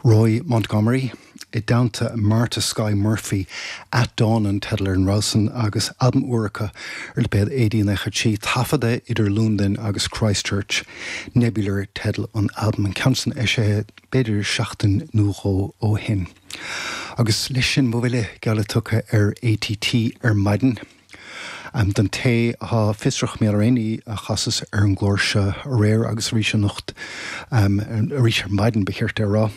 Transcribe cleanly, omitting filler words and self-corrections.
Roy Montgomery i dteannta Martha Skye Murphy, At Dawn an teideal ar an rogha san agus albam úr acu ar lipéad AD 93, taifeadta idir Londain agus Christchurch. Nebular teideal an albaim, an ceann san eisithe b'fhéidir seachtain nó dhó ó shin. Agus leis sin mo bhuille geall tugtha ar ATT ar maidin. Don té atá fiosrach mar gheall ar aon ní a chasas ar an gclár seo aréir agus arís anocht, arís ar maidin ba cheart é a rá.